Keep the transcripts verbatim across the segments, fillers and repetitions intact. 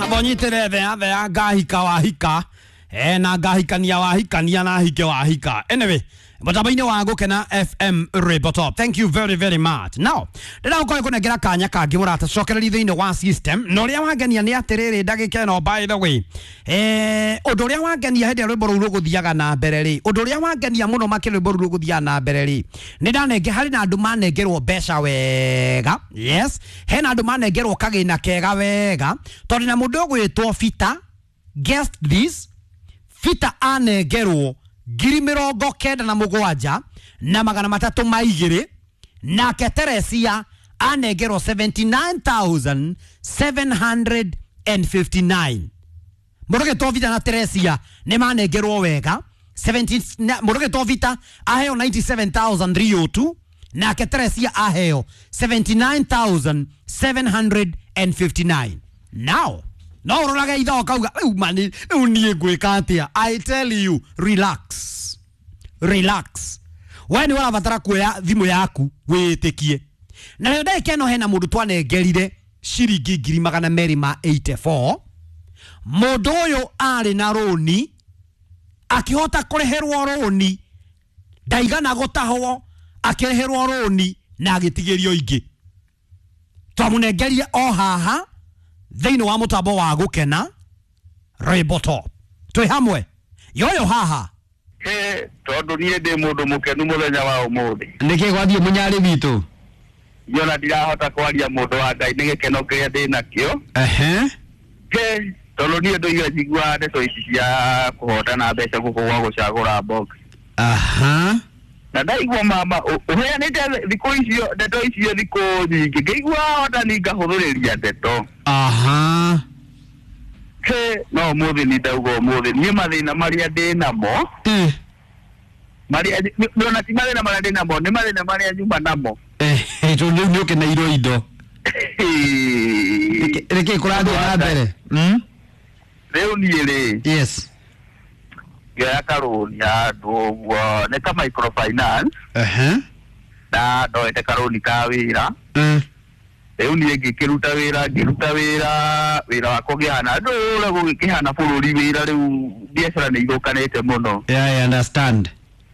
Bonyitire thea thea ngahika wahika eh na ngahikania wahikania na hike wahika. Anyway, mũtambo-inĩ wa Gũkena F M Ribotop. Thank you very very much. Now, ndĩra gũkorwo kanya kangĩ mũrata cokereria thĩinĩ wa system. Na ũrĩa wangenia nĩ atĩrĩrĩ ndagĩka ĩno by the way. Eh, ũndũ ũrĩa wangenia hĩndĩ ĩrĩa rwĩmbo rũu rũgũthiaga na mbere rĩ. Ũndũ ũrĩa wangenia mũno makĩria rwĩmbo rũu rũgũthiaga na mbere rĩ. Nĩ ndanenge harĩ na andũ manengerwo mbeca wega. Yes, hena andũ manengerwo kagĩna kega wega. Tondũ na mũndũ ũgwĩtwo Fita, guess this, Fita anengerwo ngiri mĩrongo kenda na mũgwanja na magana matatũ ma igĩrĩ, nake Teresia anengerwo seventy-nine thousand seven hundred and fifty-nine. Mũndũ ũgwĩtwo Vita na Teresia nĩ manengerwo wega. Mũndũ ũgwĩtwo Vita aheo ninety-seven thousand three hundred two, nake Teresia aheo seventy-nine thousand seven hundred and fifty-nine. Now no ũrorage ithaa ũkauga rĩu mani rĩu niĩ ngwĩka atĩa. I tell you, relax, relax. We nĩ ũrabatara kuoya thimũ yaku wĩtĩkie. Na rĩo ndagĩka ĩno hena mũndũ twanengerire ciringi ngiri magana merĩ ma eighty-four. Mũndũ ũyũ arĩ na rũni, akĩhota kũrĩhĩrwo rũni, ndaigana gũtahwo, akĩrĩhĩrwo rũni na agĩtigĩrio ingĩ. Twamũnengerire o haha thĩinĩ wa mũtambo wa Gũkena Ribotop. Twĩ hamwe yoyo haha. He tondũ niĩ ndĩ mũndũ mũkenu mũthenya wa ũmũthĩ. Nĩkĩ gwathiĩ mũnyarĩ witũ? Niona ndirahota kwaria mũndũ wa Ngai nĩ gĩkeno kĩrĩa ndĩ nakĩo. Ehe. He tondũ niĩ ndoiga njiguaga ndeto ici cia kũhotana mbeca gũkũ gwa gũcagũra box. Aha. Na ndaigua mama ũheanĩte thikũ icio ndeto icio thikũ nyingĩ ngĩigua hotani ngahũthĩrĩria ndeto. Aha. He no ũmũthĩ nĩ ndauga ũmũthĩ niĩ mathĩna marĩa ndĩ namo Eh. marĩa ona ti mathĩna marĩa ndĩ namo nĩ mathĩna marĩa nyuma namo. Eh, tondũ rĩu nĩ ũkeneirwo indo. Nĩkĩ kũrathiĩ na mbere? Mm? Rĩu niĩ rĩ. Yes. Ngĩoya karũni handũ ũguo nĩ ka microfinance. Ehe. Na ndoete karũni ka wĩra. Mm. Rĩu niĩ ngĩkĩruta wĩra ngĩruta wĩra wĩra wakwa ũkĩhana ndũre gũgĩkĩhana bũrũri wĩra rĩu biacara nĩ ithũkanĩte mũno. Yeah, I understand.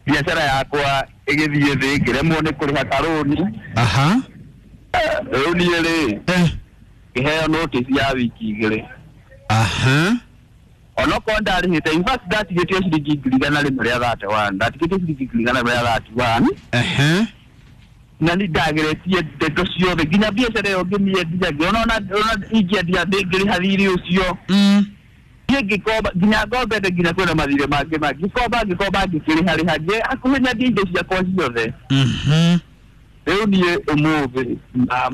Biacara yakwa ĩgĩthiĩ thĩ ngĩremwo nĩ kũrĩha karũni. Aha. Rĩu niĩ rĩ Eh. ngĩheo notice ya wiki igĩrĩ. Aha. Onokorwo ndarĩhĩte, in fact ndatigĩtio ciringi ngiri igana rĩmwe rĩa thirty-one, ndatigĩtio ciringi ngiri igana rĩmwe rĩa thirty-one. Ehe. Na nĩ ndageretie ndeto ciothe nginya biacara ĩyo ngĩmĩendia ngĩona ona ona ingĩendia ndĩngĩrĩha thirĩ ũcio. Mm. Niĩ ngĩkomba nginya ngombete nginya kwĩna mathirĩ mangĩ mangĩ ngĩkomba ngĩkomba ngĩkĩrĩha rĩha ngĩ hakuhĩ nyendie indo ciakwa ciothe. Mhm. Rĩu niĩ ũmũthĩ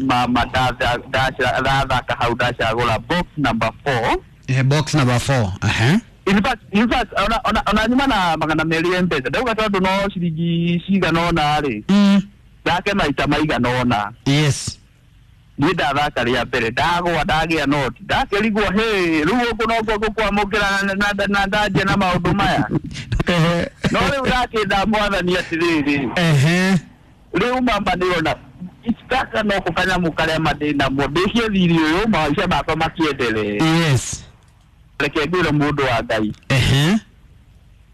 mama ndathaka hau ndacagũra box number four. Eh, box number four. Ehe. In fact, in fact, ona ona ona nyuma na magana merĩ M-Pesa ndauga tondũ no ciringi cigana ũna rĩ. Mm. Ndake maita maigana ũna. Yes. Niĩ ndathaka rĩa mbere ndagwa ndagĩa noti ndakĩrigwo hĩ rĩu gũkũ nokuo gũkwamũkĩra na na ndanjia na maũndũ maya. No rĩu ndakĩnda mwathani atĩrĩrĩ. Ehe. Rĩu mama nĩrona gaka no kanyamũ karĩa mandĩ namo ndĩcie thirĩ ũyũ maica makwa makĩendelee. Yes. Reke ngwĩre mũndũ wa Ngai. Ehe.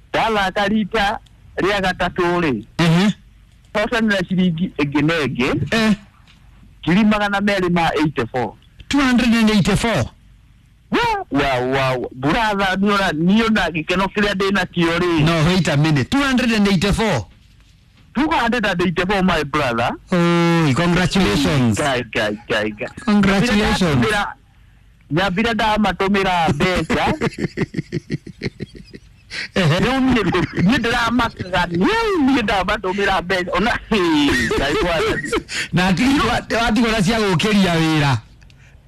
Ndathaka rita rĩa gatatũ rĩ. Ehe. Hotanĩra ciringi ĩngĩ na ĩngĩ. Eh. Ngiri magana merĩ ma eighty-four. two hundred and eighty-four. Wow, wow. Brother, niona niona gĩkeno kĩrĩa ndĩ nakĩo rĩ. No, wait a minute. two hundred and eighty-four. two hundred and eighty-four, my brother. Oh, congratulations. Guy, guy, guy, guy. Congratulations. Nyambire ndamatũmĩra mbeca. Rĩu niĩ niĩ ndĩramakaga niĩ ndamatũmĩra mbeca ona Ngai mwathani. Na watigwo na cia gũkĩria wĩra.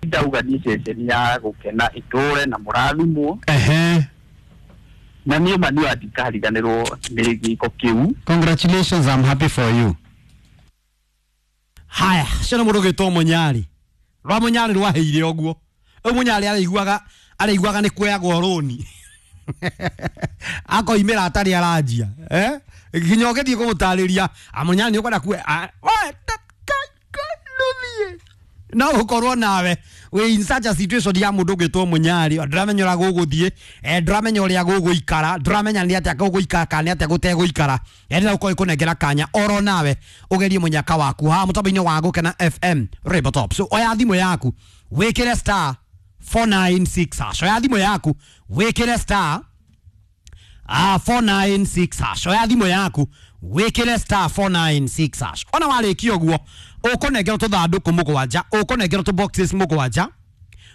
Ndauga niĩ ceceni ya Gũkena ĩtũre na mũrathimwo. Ehe. Na niĩ ma niĩ ndikariganĩrwo nĩ gĩko kĩu. Congratulations, I'm happy for you. Haya, cio nĩ mũndũ ũgwĩtwo Mũnyarĩ. Rwa Mũnyarĩ rwaheire ũguo. Rĩu Mũnyarĩ araiguaga araiguaga nĩ kuoyagwo rũni. Akoimĩra atarĩ aranjia. Eh? Nginya ũgĩthiĩ kũmũtarĩria, a Mũnyarĩ nĩ ũkwenda kuoya. We, nũthiĩ. No gũkorwo nawe wĩ in such a situation ya mũndũ ũgĩtwo mũnyari, ndũramenya ũrĩa gũgũthiĩ, eh, ndũramenya ũrĩa gũgũikara, ndũramenya nĩ atĩa gũgũikara kana nĩ atĩa gũtegũikara. Ndĩrenda gũkorwo ĩkũnengera kanya oro nawe ũgerie mũnyaka waku haha mũtambo-inĩ wa Gũkena F M Rainbow Top. So oya thimũ yaku wĩkĩre star four nine six hash. Oya thimũ yaku wĩkĩre star ah four nine six hash. Oya thimũ yaku wĩkĩre star four nine six hash. Ona warĩkia ũguo ũkũnengerwo tũthandũkũ mũgwanja, ũkũnengerwo tũ boxes mũgwanja.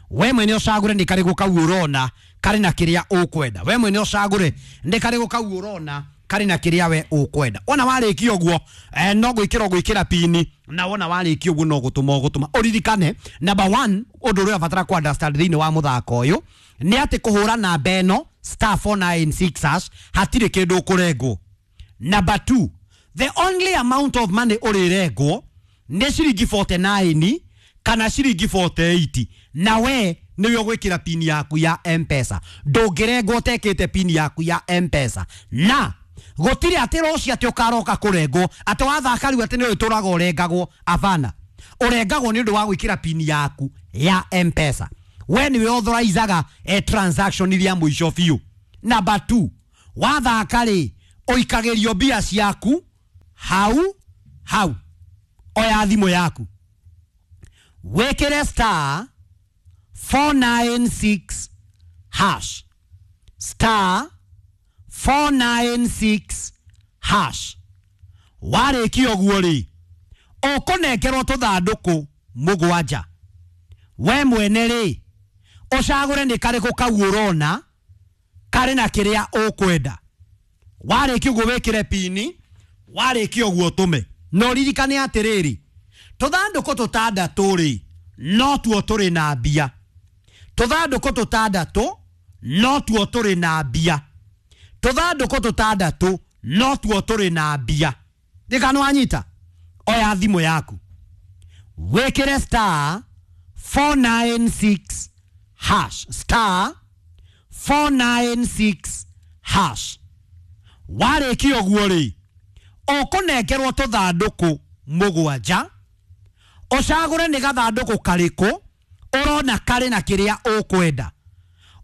We mwene ũcagũre nĩ karĩgũ kau ũrona karĩ na kĩrĩa ũkwenda. We mwene ũcagũre nĩ karĩgũ kau ũrona karĩ na kĩrĩa we ũkwenda. Ona warĩkia ũguo eh, no gwĩkĩra ũgwĩkĩra pini, na wona warĩkia ũguo no gũtũma ũgũtũma. Ũririkane number one, ũndũ ũrĩa ũrabatara ku understand thĩinĩ wa mũthako ũyũ nĩ atĩ kũhũra namba ĩno star four nine six hash hatirĩ kĩndũ ũkũrengwo. Number two, the only amount of money ũrĩrengwo nĩ ciringi forty nine kana ciringi forty eight, na we nĩwe ũgwĩkĩra pini yaku ya M-Pesa. Ndũngĩrengwo ũtekĩte pini yaku ya M-Pesa. Na gũtirĩ atĩ rũciũ atĩ ũkaroka kũrengwo atĩ wathaka rĩu atĩ nĩ ũtũraga ũrengagwo. Abana, ũrengagwo nĩ ũndũ wa gwĩkĩra pini yaku ya M-Pesa. We nĩwe authorizaga e transaction iria mũico biũ. Number two, wathaka rĩ ũikagĩrio mbia ciaku hau hau. Oya thimũ yaku wĩkĩre star four nine six hash, star four nine six hash. Warĩkia ũguo rĩ ũkũnengerwo tũthandũkũ mũgwanja. We mwene rĩ ũcagũre nĩ karĩkũ kau ũrona karĩ na kĩrĩa ũkwenda. Warĩkia ũguo wĩkĩre pini, warĩkia ũguo ũtũme. Na ũririkane atĩrĩrĩ, tũthandũkũ tũtandatũ rĩ no tuo tũrĩ na mbia. Tũthandũkũ tũtandatũ no tuo tũrĩ na mbia. Tũthandũkũ tũtandatũ no tuo tũrĩ na mbia. Ndikano wanyita, oya thimũ yaku wĩkĩre star four nine six hash, star four nine six hash. Warĩkia ũguo rĩ ũkũnengerwo tũthandũkũ mũgwanja, ũcagũre nĩ gathandũkũ karĩkũ ũrona karĩ na kĩrĩa ũkwenda.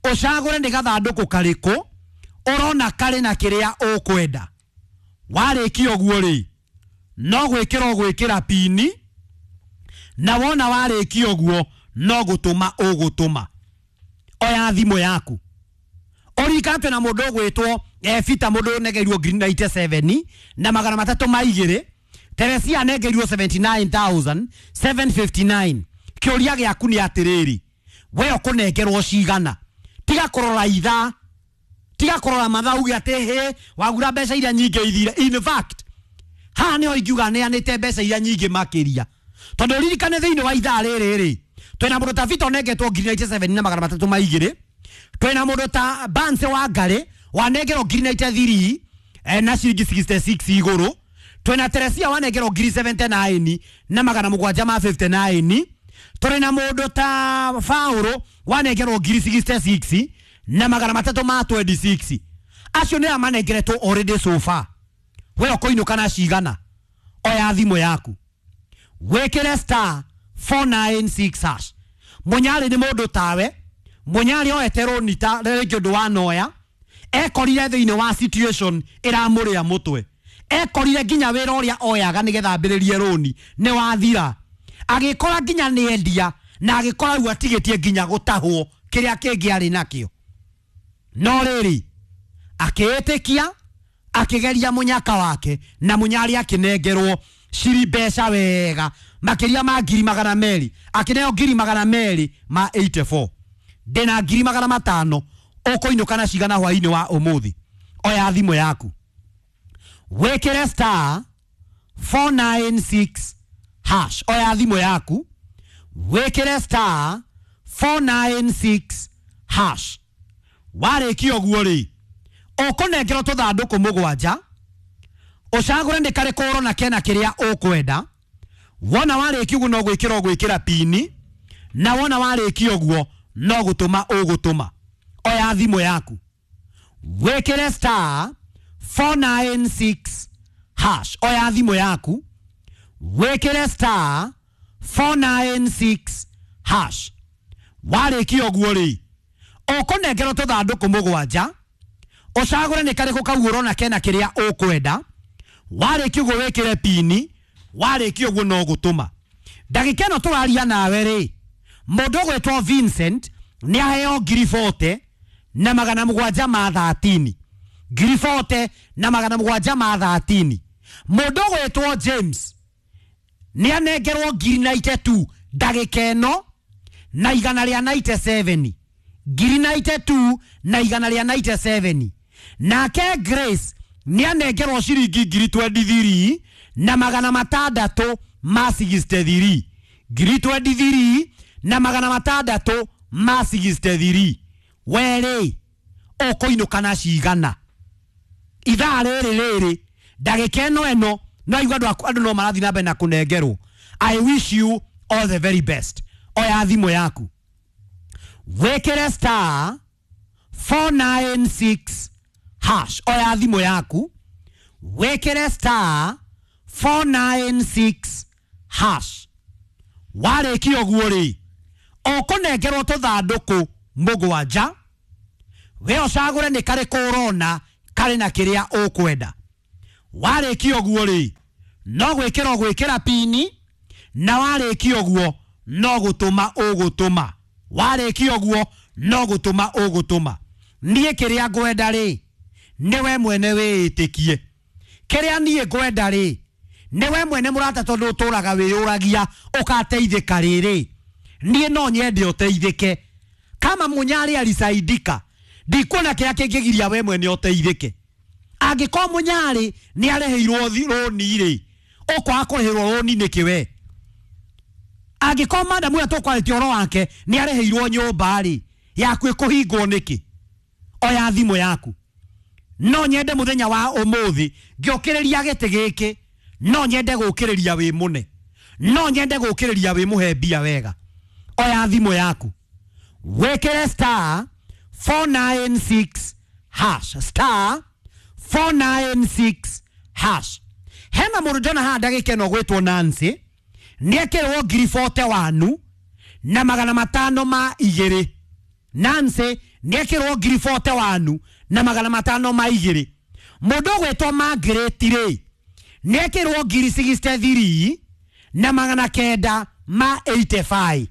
Ũcagũre nĩ gathandũkũ karĩkũ ũrona karĩ na kĩrĩa ũkwenda. Warĩkia ũguo rĩ no gwĩkĩra ũgwĩkĩra pini, na wona warĩkia ũguo no gũtũma ũgũtũma. Oya thimũ yaku ũririkane twĩna mũndũ ũgwĩtwo Fita, mũndũ ũnengerirwo ngiri ninety seven na magana matatũ ma igĩrĩ. Teresia anengerirwo seventy nine thousand seven fifty nine. Kĩũria gĩaku nĩ atĩrĩrĩ, we ũkũnengerwo cigana? Tiga kũrora ithaa, tiga kũrora mathaa uge atĩ hĩ wagura mbeca iria nyingĩ ithire. In fact haha nĩho ingiuga neanĩte mbeca iria nyingĩ makĩria, tondũ ririkane thĩinĩ wa ithaa rĩrĩ rĩ twĩna mũndũ ta Fita ũnengetwo ngiri ninety seven na magana matatũ ma igĩrĩ, twĩna mũndũ ta Banse wa Ngarĩ wanengerwo ngiri ninety three na ciringi sixty six igũrũ, twĩna Teresia wanengerwo ngiri seventy nine na magana mũgwanja ma fifty nine, tũrĩ na mũndũ ta Faũrũ wanengerwo ngiri sixty six na magana matatũ ma twenty six. Acio nĩ amanengeretwo already so far. We ũkũinũka na cigana? Oya thimũ yaku wĩkĩre star four nine six hash. Mũnyarĩ nĩ mũndũ tawe, mũnyarĩ oete rũni ta rĩngĩ ũndũ wa noya, ekorire thĩinĩ wa situation ĩramũrĩa mũtwe, ekorire nginya wĩra ũrĩa oyaga nĩgetha ambĩrĩrie rũni nĩ wathira, agĩkora nginya nĩ endia, na agĩkora rĩu atigĩtie nginya gũtahwo kĩrĩa kĩngĩ arĩ nakĩo. No rĩrĩ akĩĩtĩkia, akĩgeria mũnyaka wake, na mũnyarĩ akĩnengerwo ciri mbeca wega makĩria ma ngiri magana merĩ, akĩneo ngiri magana merĩ ma eighty four. Ndĩna ngiri magana matano ũkũinũka na cigana hwainĩ wa ũmũthĩ? Oya thimũ yaku wĩkĩre star four nine six hash. Oya thimũ yaku wĩkĩre star four nine six hash. Warĩkia ũguo rĩ ũkũnengerwo tũthandũkũ mũgwanja, ũcagũre nĩ karĩkũ ũrona kena kĩrĩa ũkwenda. Wona warĩkia ũguo no gwĩkĩra ũgwĩkĩra pini, na wona warĩkia ũguo no gũtũma ũgũtũma. Oya thimũ yaku wĩkĩre star four nine six hash. Oya thimũ yaku wĩkĩre star four nine six hash. Warĩkia ũguo rĩ, ũkũnengerwo tũthandũkũ mũgwanja, ũcagũre nĩ karĩkũ kau ũrona kena kĩrĩa ũkwenda. Warĩkia ũguo wĩkĩre pini, warĩkia ũguo no gũtũma. Ndagĩka ĩno tũraria nawe rĩ, mũndũ ũgwĩtwo Vincent nĩ aheo ngiri forty na magana mũgwanja ma thirteen. Ngiri forty na magana mũgwanja ma thirteen. Mũndũ ũgwĩtwo James nĩ anengerwo ngiri ninety two ndagĩka ĩno na igana rĩa ninety seven. Ngiri ninety two na igana rĩa ninety seven. Nake Grace nĩ anengerwo ciringi ngiri twenty three na magana matandatũ ma sixty three. Ngiri twenty three na magana matandatũ ma sixty three. Werĩ ũkũinũka na cigana ithaa rĩrĩ rĩrĩ ndagĩka ĩno ĩno no igua andũ andũ no marathiĩ na mbere na kũnengerwo. I wish you all the very best. Oya thimũ yaku wĩkĩre star four nine six hash. Oya thimũ yaku wĩkĩre star four nine six hash. Warĩkia ũguo rĩ, ũkũnengerwo tũthandũkũ mũgwanja, we ũcagũre nĩ karĩkũ ũrona karĩ na kĩrĩa ũkwenda. Warĩkia ũguo rĩ, no gwĩkĩra ũgwĩkĩra pini, na warĩkia ũguo no gũtũma ũgũtũma. Warĩkia ũguo no gũtũma ũgũtũma. Niĩ kĩrĩa ngwenda rĩ, nĩwe mwene wĩĩtĩkie. Kĩrĩa niĩ ngwenda rĩ, nĩwe mwene mũrata, tondũ ũtũraga wĩyũragia ũgateithĩka rĩrĩ. Niĩ no nyende ũteithĩke. Kama Munyari alisaidika, ndikuona kĩrĩa kĩngĩgiria we mwene ũteithĩke. Angĩkorwo Munyari nĩ arĩhĩirwo rũni rĩ, ũkwaga kũrĩhĩrwo rũni nĩkĩ we? Angĩkorwo madamu ũrĩa tũkwarĩtie ũhoro wake nĩ arĩhĩirwo nyũmba rĩ, yaku ĩkũhingwo nĩkĩ? Oya thimũ yaku. No nyende mũthenya wa ũmũthĩ ngĩũkĩrĩria gĩtĩ gĩkĩ, no nyende gũkĩrĩria wĩ mũne, no nyende gũkĩrĩria wĩ mũhe mbia wega. Oya thimũ yaku wĩkĩre star four nine six hash. Star four nine six hash. Hena mũndũ ndona haha ndagĩka ĩno gwĩtwo Nancy, nĩekĩrwo ngiri forty one na magana matano ma igĩrĩ. Nancy nĩekĩrwo ngiri forty one na magana matano ma igĩrĩ. Mũndũ ũgwĩtwo Margaret rĩ, nĩekĩrwo ngiri sixty three na magana kenda ma eighty five.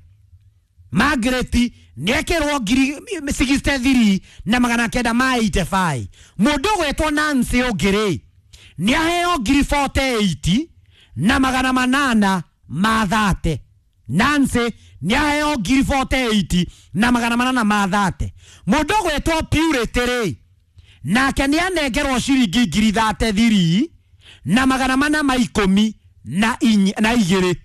Margaret nĩekĩrwo ngiri sixty three na magana kenda ma eighty five. Mũndũ ũgwĩtwo Nancy ũngĩ rĩ, nĩaheo ngiri forty eight na magana manana ma thate. Nancy nĩaheo ngiri forty eight na magana manana ma thate. Mũndũ ũgwĩtwo Purity rĩ, nake nĩanengerwo ciringi ngiri thate three na magana mana ma ikũmi na na igĩrĩ.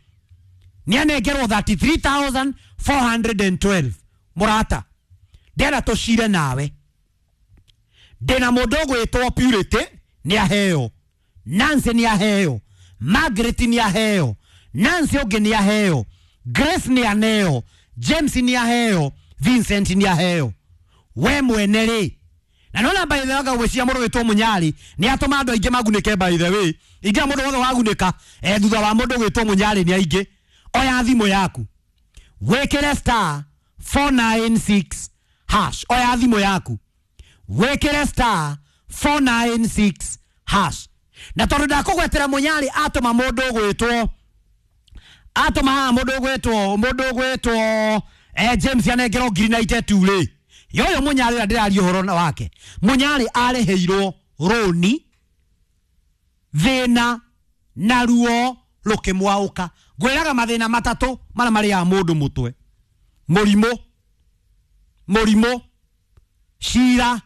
Nĩanengerwo thirty three thousand four hundred and twelve. Mũrata, ndĩrenda tũcire nawe. Ndĩna mũndũ ũgwĩtwo Purity nĩaheo, Nancy nĩaheo, Margaret nĩaheo, Nancy ũngĩ nĩaheo, Grace nĩaneo, James nĩaheo, Vincent nĩaheo. We mwene rĩ, na nona by the way gwĩciria mũndũ wĩtwo Munyari nĩ atũma andũ aingĩ magunĩke. By the way, ingĩra mũndũ wothe wagunĩka eh, thutha wa mũndũ gwĩtwo Munyari nĩ aingĩ. Oya thimũ yaku wĩkĩre star four nine six hash. Oya thimũ yaku wĩkĩre star four nine six hash. Na tondũ ndakũgwetera Munyari atũma mũndũ ũgwĩtwo atũma haha mũndũ ũgwĩtwo mũndũ ũgwĩtwo eh, James anengerwo ngiri ninety two rĩ, yoyo Munyari ũrĩa ndĩraria ũhoro wake, Munyari arĩhĩirwo rũni thĩna na ruo rũkĩmwaũka. Ngwĩraga mathĩna matatũ marĩa marĩaga mũndũ mũtwe: mũrimũ, mũrimũ, cira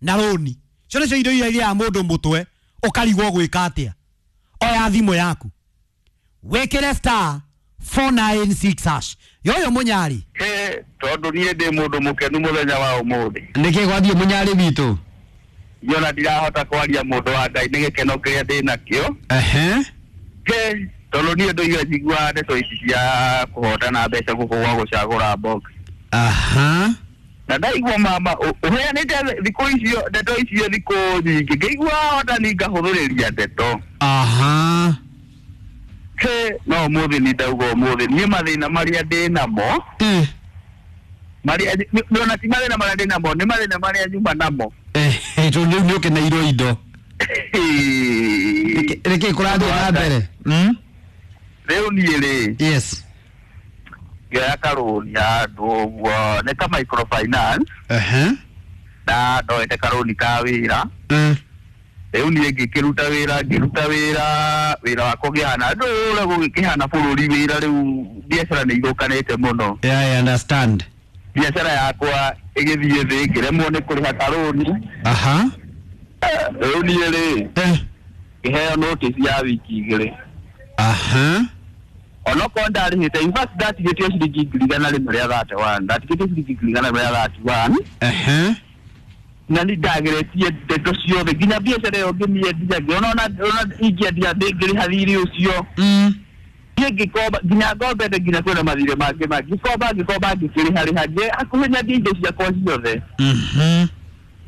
na rũni. Icio nĩcio indo iria irĩaga mũndũ mũtwe ũkarigwo gwĩka atĩa. Oya thimũ yaku wĩkĩre star four nine six hash. Yoyo Munyari, He, tondũ niĩ ndĩ mũndũ mũkenu mũthenya wa ũmũthĩ. Nĩkĩ gwathiĩ Munyari witũ? Niona ndirahota kwaria mũndũ wa Ngai nĩ gĩkeno kĩrĩa ndĩ nakĩo. Ehe. He, tondũ niĩ ndũire njiguaga ndeto ici cia kũhotana mbeca gũkũ gwa gũcagũra box. Aha. Na ndaigua mama ũheanĩte thikũ icio ndeto icio thikũ nyingĩ, ngĩigua hotani ngahũthũrĩria ndeto. Aha. He, No ũmũthĩ nĩ ndauga ũmũthĩ niĩ mathĩna marĩa ndĩ namo Eh. marĩa ona ti mathĩna marĩa ndĩ namo, nĩ mathĩna marĩa nyuma namo. Eh, tondũ rĩu nĩ ũkeneirwo indo. Nĩkĩ kũrathiĩ na mbere? Mm? Rĩu niĩ rĩ, Yes. ngĩoya karũni handũ ũguo nĩ ka microfinance. Aha. Na ndoete karũni ka wĩra. Mm. Rĩu niĩ ngĩkĩruta wĩra, ngĩruta wĩra, wĩra wakwa ũkĩhana ndũĩ ũrĩa gũgĩkĩhana bũrũri, wĩra rĩu biacara nĩ ithũkanĩte mũno. Yeah, I understand. Biacara yakwa ĩgĩthiĩ thĩ, ngĩremwo nĩ kũrĩha karũni. Aha. Rĩu niĩ rĩ, Eh. ngĩheo notice ya wiki igĩrĩ. Aha. Onokorwo ndarĩhĩte, in fact ndatigĩtio ciringi ngiri igana rĩmwe rĩa thirty one, ndatigĩtio ciringi ngiri igana rĩmwe rĩa thirty one. Aha. Na nĩ ndageretie ndeto ciothe nginya biacara ĩyo ngĩmĩendia, ngĩona ona ona ingĩendia ndĩngĩrĩha thirĩ ũcio. Mm. Niĩ ngĩkomba nginya ngombete, nginya kwĩna mathirĩ mangĩ mangĩ, ngĩkomba ngĩkomba ngĩkĩrĩha rĩha ngĩ hakuhĩ nyendie indo ciakwa ciothe. Mhm.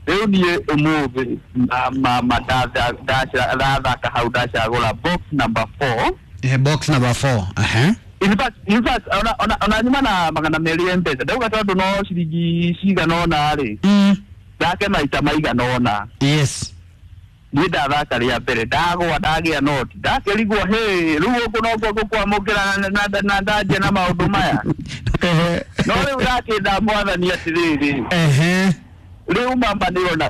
Rĩu niĩ ũmũthĩ mama ndathaka hau ndacagũra box number four. Eh, box number four. Aha. In fact, in fact, ona ona ona nyuma na magana merĩ M-Pesa, ndauga tondũ no ciringi cigana ũna rĩ, Mm. thake maita maigana ũna. Yes. Niĩ ndathaka rĩa mbere, ndagwa, ndagĩa noti, ndakĩrigwo hĩ, rĩu gũkũ nokuo ngũkwamũkĩra na- na na ndanjia na maũndũ maya. No rĩu ndakĩnda mwathani atĩrĩrĩ, Ehe. rĩu mama nĩrona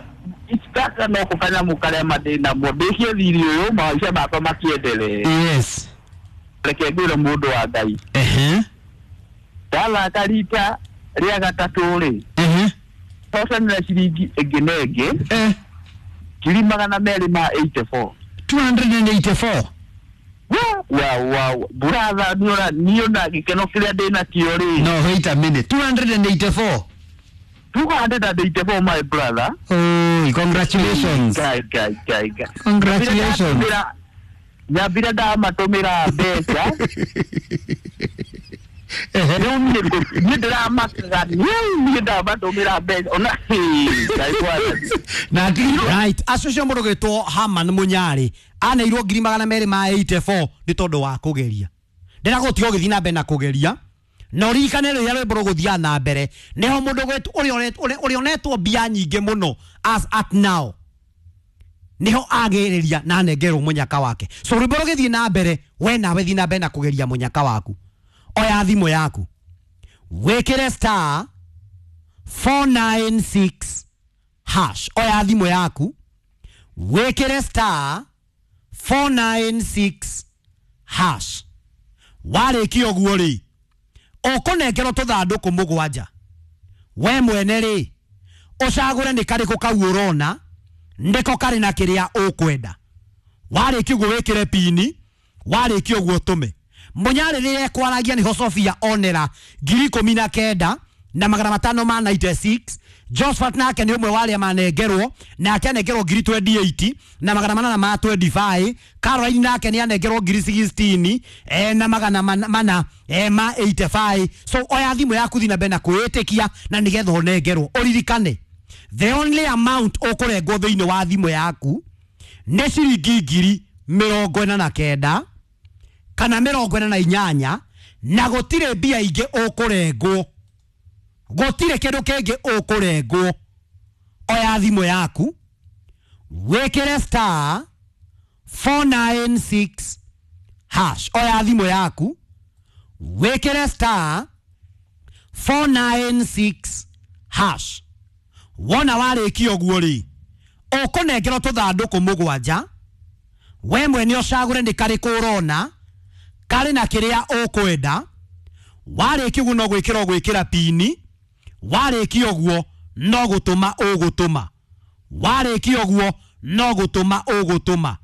gaka no kanyamũ karĩa mandĩ namo ndĩkie thirĩ ũyũ, maica makwa makĩendelee. Yes. Reke ngwĩre mũndũ wa Ngai, Ehe. ndathaka rita rĩa gatatũ rĩ, Ehe. hocanĩra ciringi ĩngĩ na ĩngĩ Eh. ngiri magana merĩ ma eighty four. two hundred eighty-four. Wa wa buratha, niona niona gĩkeno kĩrĩa ndĩ nakĩo rĩ. No, wait a minute. two hundred eighty-four. two hundred and eighty four, my brother. Oh, congratulations. Ngai Ngai Ngai Ngai. Congratulations. Nyambire ndamatũmĩra mbeca. Ehe. Rĩu niĩ ngũ- niĩ ndĩramakaga niĩ niĩ ndamatũmĩra mbeca ona Ngai mwathani. Na ti Right, acio cio mũndũ gwĩtwo Haman Mũnyarĩ aneirwo ngiri magana merĩ ma eighty four nĩ tondũ wa kũgeria. Ndĩragũtiga ũgĩthiĩ na mbere na kũgeria, na ũririkane rĩrĩa rwĩmbo rũgũthiaga na mbere nĩho mũndũ gwĩtwo ũrĩa ũretwo- ũrĩa ũrĩa ũnetwo mbia nyingĩ mũno as at now niho agĩrĩria na anengerwo mũnyaka wake. So rwĩmbo rũgĩthiĩ na mbere, we nawe thiĩ na mbere na kũgeria mũnyaka waku. Oya thimũ yaku, wĩkĩre star four nine six hash. Oya thimũ yaku, wĩkĩre star four nine six hash. Warĩkia ũguo rĩ, ũkũnengerwo tũthandũkũ mũgwanja. We mwene rĩ, ũcagũre nĩ karĩkũ kau ũrona nĩko karĩ na kĩrĩa ũkwenda. Warĩkia ũguo wĩkĩre pini, warĩkia ũguo ũtũme. Mũnyarĩ rĩrĩa ekwaragia nĩho Sofia onera ngiri ikũmi na kenda na magana matano ma ninety six. Josephat nake nĩ ũmwe wa arĩa manengerwo, nake anengerwo ngiri twenty eight na magana manana ma twenty five. Caroline nake nĩ anengerwo ngiri sixteen, eh, na magana mana, mana, eh, ma eighty five. So oya thimũ yaku thiĩ na mbere na kwĩĩtĩkia na nĩgetha ũnengerwo. Ũririkane the only amount ũkũrengwo thĩinĩ wa thimũ yaku nĩ ciringi ngiri mĩrongo ĩna na kenda kana mĩrongo ĩna na inyanya, na gũtirĩ mbia ingĩ ũkũrengwo, gũtirĩ kĩndũ kĩngĩ ũkũrengwo. Oya thimũ yaku, wĩkĩre star four nine six hash. Oya thimũ yaku, wĩkĩre star four nine six hash. Wona warĩkia ũguo rĩ, ũkũnengerwo tũthandũkũ mũgwanja. We mwene ũcagũre nĩ karĩkũ ũrona karĩ na kĩrĩa ũkwenda. Warĩkia ũguo no gwĩkĩra ũgwĩkĩra pini, warĩkia ũguo no gũtũma ũgũtũma, warĩkia ũguo no gũtũma ũgũtũma.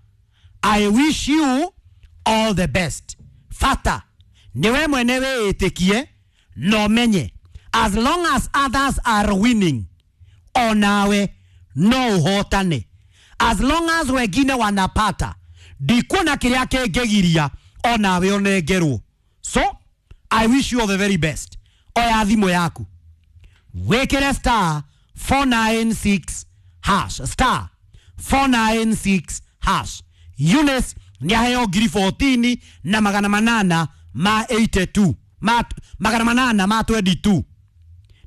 I wish you all the best. Fata nĩ we mwene wĩĩtĩkie na ũmenye as long as others are winning, onawe no ũhotane. As long as wengine wanapata, ndikuona kĩrĩa kĩngĩgiria onawe ũnengerwo. So I wish you all the very best. Oya thimũ yaku, wĩkĩre star four nine six hash, star four nine six hash. Eunice Nĩ aheo ngiri fourteen na magana manana ma eighty-two, ma magana manana ma twenty-two.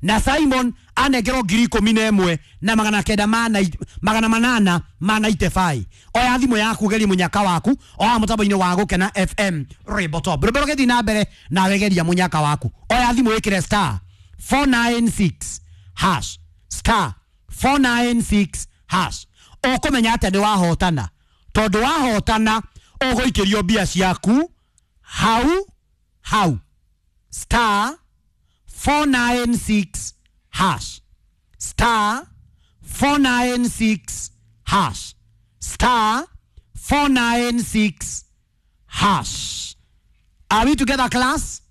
Na Simon anengerwo ngiri ikũmi na ĩmwe na magana kenda ma nai- magana manana ma ninety-five. Oya thimũ yaku geria mũnyaka waku oya mũtambo-inĩ wa Gũkena F M Rwĩmbo Top. Rwĩmbo rũgĩthiĩ na mbere nawe geria mũnyaka waku. Oya thimũ ĩkĩre star four nine six hash, star four nine six hash. Ũkũmenya atĩa nĩ wahotana? Tondũ wahotana ũgũikĩrio mbia ciaku hau hau. Star four nine six hash, star four nine six hash, star four nine six hash. Are we together, class?